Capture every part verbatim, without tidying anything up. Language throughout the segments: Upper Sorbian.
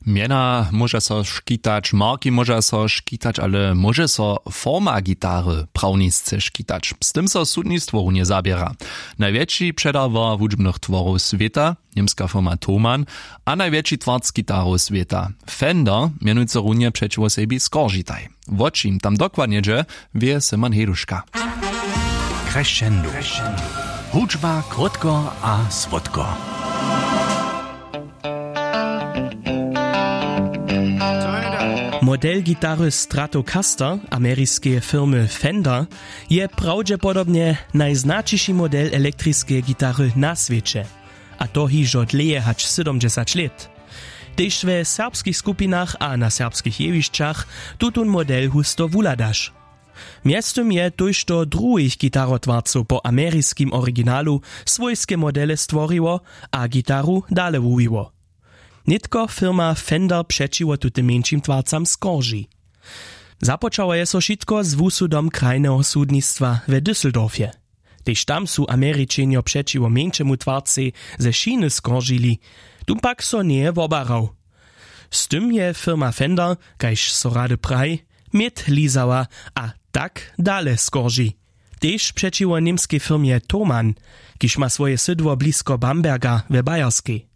Mjena móža so škitać, marki móža so škitać, ale móže so forma gitary prawnisce škitać. Z tym so sudnistwo runje zaběra. Najwjetši předawar hudźbnych tworow swěta, němska firma Thomann, a najwjetši twarc gitarow swěta, Fender, mjenujcy runje přećiwo sebi skoržitaj. Wo čim tam dokładnje dźe, wě Simon Heduška. Crescendo. Hudźba krótko a słodko. Model gitary Stratocaster ameriskeje firmy Fender je prawdźepodobnje najznaćiši model elektriskeje gitary na swěće, a to hižo dlěje hač sydomdźesać lět. Tež we serbskich skupinach a na serbskich jewišćach tutón model husto wuhladaš. Mjeztym je tójšto druhich gitarotwarcow po ameriskim originalu swójske modele stworiło a gitaru dale wuwiło. Nětko firma Fender přećiwo tutym mjeńšim twarcam skorži. Započało je so wšitko z wusudom krajneho sudnistwa we Düsseldorfje. Tež tam su Američenjo přećiwo mjeńšemu twarcej ze Chiny skoržili, tón pak so njeje wobarał. Z tym je firma Fender, kaž so rady praji, měd lizała a tak dale skorži. Tež přećiwo němskej firmje Thomann, kiž ma swoje sydło blisko Bamberga we Bayerskej.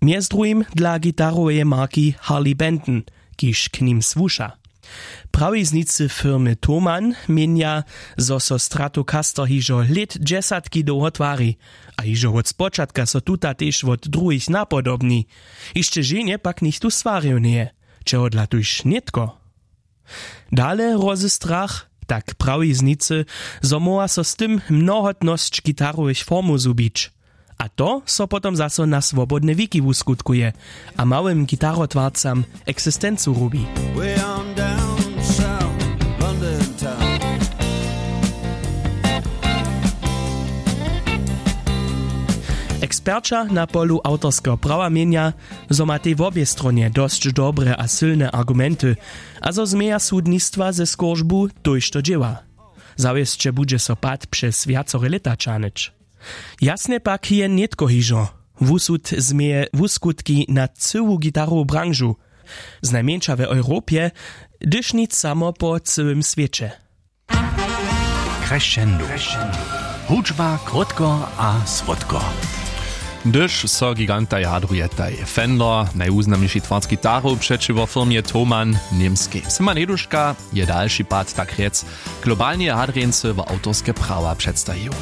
Mjez druhim dla gitaroweje marki Harley Benton, kiž k nim słuša. Prawiznicy firmy Thomann měnja, zo so Stratocaster hižo lět dźesatki dołho twari, a hižo wot spočatka so tuta tež wot druhich napodobni. Hišće ženje pak nichtó swarił njeje, čehodla tuž nětko. Dale hrozy strach, tak prawiznicy, zo móhła so z tym mnohotnosć gitarowych formow zhubić. A to so potom zaso na swobodne wiki wuskutkuje a małym gitarotwarcam eksistencu rubi. Way on down south, London town. Eksperća na polu awtorskeho prawa měnja, zo ma tej wobě stronje dosć dobre a sylne argumenty, a zo změja sudnistwa ze skóržbu tójšto dźěła. Zawěsće budźe so pad přez wjacore lěta ćahnyć. Jasnje pak je nětko hižo. Wusud změje wuskutki na cyłu gitarowu branžu, znajmjeńša w Europje, hdyž nic samo po cyłym swěće. Crescendo. Hudźba krótko a słodko. Hdyž so gigantaj hadrujetaj, Fender, najwuznamniši twarc gitarow přećiwo firmje Thomann, němskej. Simon Heduška je dalši pad, tak rjec, globalneje hadrjeńcy wo awtorske prawa předstajił.